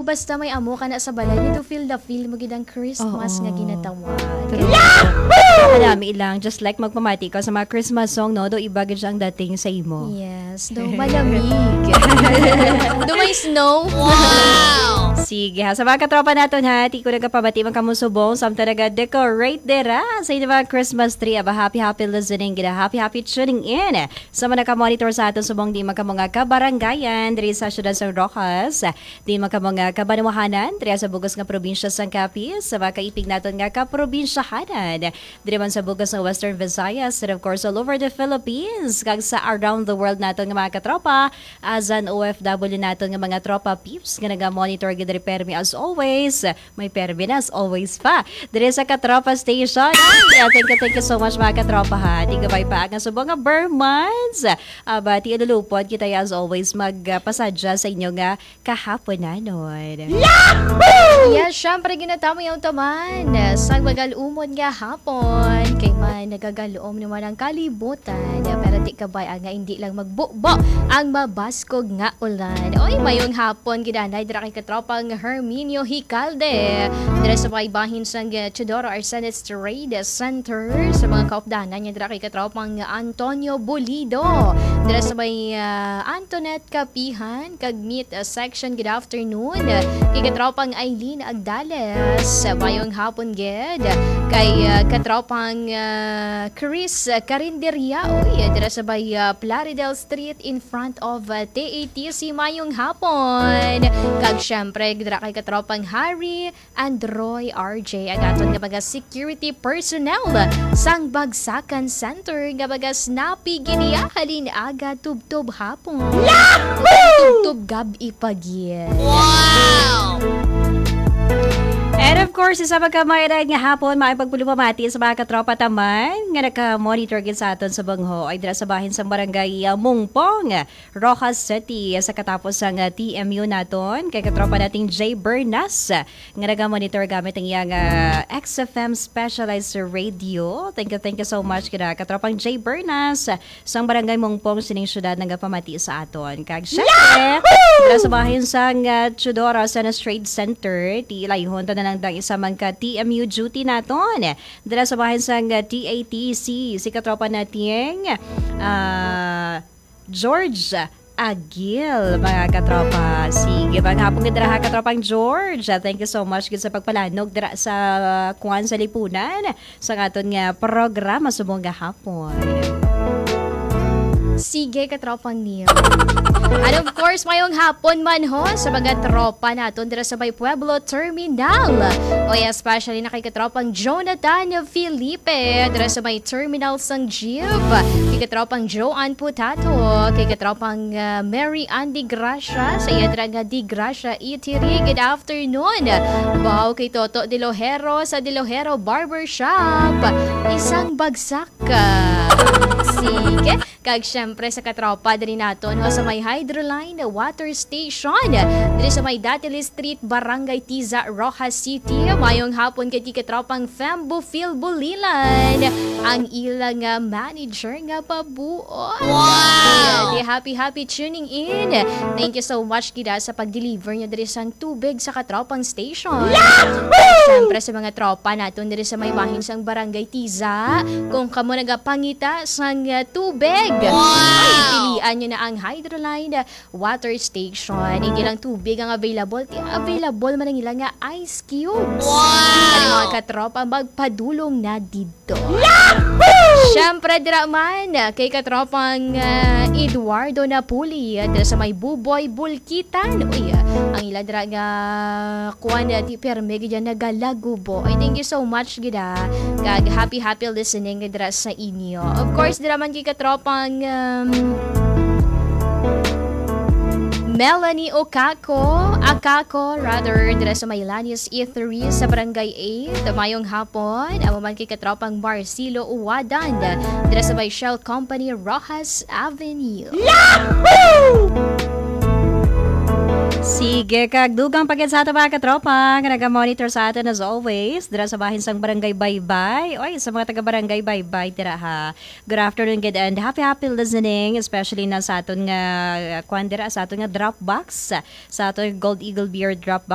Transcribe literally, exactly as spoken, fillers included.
Basta may amo ka na sa balay, you feel the feel mo gid ang Christmas Oo. nga ginatawag. True. Kalami lang, just like magpamati ka sa mga Christmas song, no? Do iba gid siya ang dating sa imo. Yes, do malamig. Do may snow. Wow! Sige ha, sa mga katropa naton ha, ti ko nagapamati man kamo subong, samtang naga-decorate dira sa inyo mga Christmas tree. Aba, happy, happy listening, gina, happy, happy tuning in. Sa mga nakamonitor sa aton subong, di man kamo nga kabarangayan, diri sa siyudad sa Roxas, di man kamo nga kabanwahanan, diri sa bug-os nga probinsya sang Capiz, sa mga kaipig naton nga kaprobinsyahanan, diri man sa bug-os nga Western Visayas, and of course, all over the Philippines, kag sa around the world naton nga mga katropa, as an O F W naton nga mga tropa peeps, nga naga-monitor gid diri permi as always, may permi na as always pa. Diri sa Katropa Station. Ay, thank you, thank you so much, mga katropa, ha. Di gabay pa ang subong nga Burmans. Aba, ti lulupod kita, as always, magpasadya sa inyo nga kahaponanon. Yes, syempre, ginatamo yung taman sa magal-umon nga hapon. Kay man, nagagal-om naman ang kalibutan. Pero ti kabay, ah, nga hindi lang magbubo ang mabaskog nga ulan. Oy, mayong hapon, gidanay, dira kay katropang Herminio Hicalde. Dira sa may bahin sang, eh, Teodoro Arsenes Trade Center. Sa mga kaupdanan niya, dira kay katropang Antonio Bulido. Dira sa may, ah, Antoinette Kapihan, kag Meat, ah, Section. Good afternoon. Kay katropang Aileen Agdales. Mayong hapon, gid. Kay, ah, katropang, ah, Chris, ah, Carinderia. Uy, dira sa may, ah, Plaridel Street in front of, ah, T A T C. Mayong hapon. Kag syempre, dira kay katropang Harry and Roy R J, ang aton nga mga security personnel sang Bagsakan Center nga mga snappy gid niya halin aga tubtob hapon. Yahoo! Tubtob gab-i pa gid. Wow! And of course, isa pa ka maayong nga hapon, maayong pagpulupamati sa mga katropa taman nga naka-monitor gid sa aton sa bangho ay dira sa bahin sang barangay, ah, Mungpong, Roxas City, sa katapos sang, ah, T M U naton, kay katropa nating Jay Bernas, nga naga-monitor gamit ang iyang, ah, X F M specialized radio. Thank you, thank you so much, kina katropang Jay Bernas, sang Barangay Mungpong, sining syudad, nagapamati sa aton. Kag syempre, dira sa bahin sang, ah, Teodoro Arsenes Trade Center, ti ilayhon ta na lang dang isa man ka T M U duty naton. Dira sa bahin sang, ah, T A T C, si katropa nating, ah, George Agil, mga katropa. Sige, maayong hapon gid dira ha, katropang George. Ah, thank you so much gid sa pagpalanog dira sa, ah, kuan sa lipunan sa aton nga programa subong nga hapon. Sige, katropang Neil. And of course, mayong hapon man ho sa mga tropa naton dira sa may Pueblo Terminal. O, especially na kay katropang Jonathan Felipe, dira sa may terminal sang jeep. Kay katropang Joan Putato, kay katropang, ah, Mary Ann Di Gracia, sa iya dira nga Di Gracia Eatery. Good afternoon. Baw kay Toto Dilojero sa Dilojero Barbershop. Isang bagsak ka. Sige. Kag syempre sa katropa diri naton, no, sa may Hydroline Water Station, diri sa may Datiles Street, Barangay Tiza, Roxas City. Mayong hapon kay katropang Fembo Phil Bulilan, ang ilang, ah, manager nga pabuot. Wow! Di, happy, happy tuning in. Thank you so much, gid, ah, sa pag-deliver niya diri sang tubig sa katropang station. Yahoo! Siyempre, sa mga tropa naton diri sa may bahin sang Barangay Tiza, kung kamo nagapangita sang, ah, tubig, wow, ay, pilian nyo na ang Hydroline Water Station. Hindi lang tubig ang available, ti-, available man ang ilang nga ice cubes. Wow! Ano, mga katropa, magpadulong na dito. Yahoo! Siyempre, dira man, kay katropang, ah, Eduardo Napuli, dira sa may Buboy, Bulkitan. Uy, ah, ang ila dira nga kuan, ah, ti perme gid yan nagalagubo. Ay, thank you so much gid, ah. Kag happy, happy listening dira sa inyo. Of course, dira man kay katropang, um, Melanie Okako, Akako, rather, dira sa may Lanius E three sa Barangay eight. Mayong hapon, amo man kay katropang Marcelo Uwadan, dira sa may Shell Company, Roxas Avenue. Yahoo! Sige, kag dugang pa gid sa ato, mga katropa, nga naga-monitor sa aton as always, dira sa bahin sang Barangay Baybay. Oy, sa mga taga Barangay Baybay, dira ha. Good afternoon, good and happy, happy listening, especially na sa aton nga, uh, kwan dira, sa aton nga drop box, sa aton Gold Eagle Beer drop box.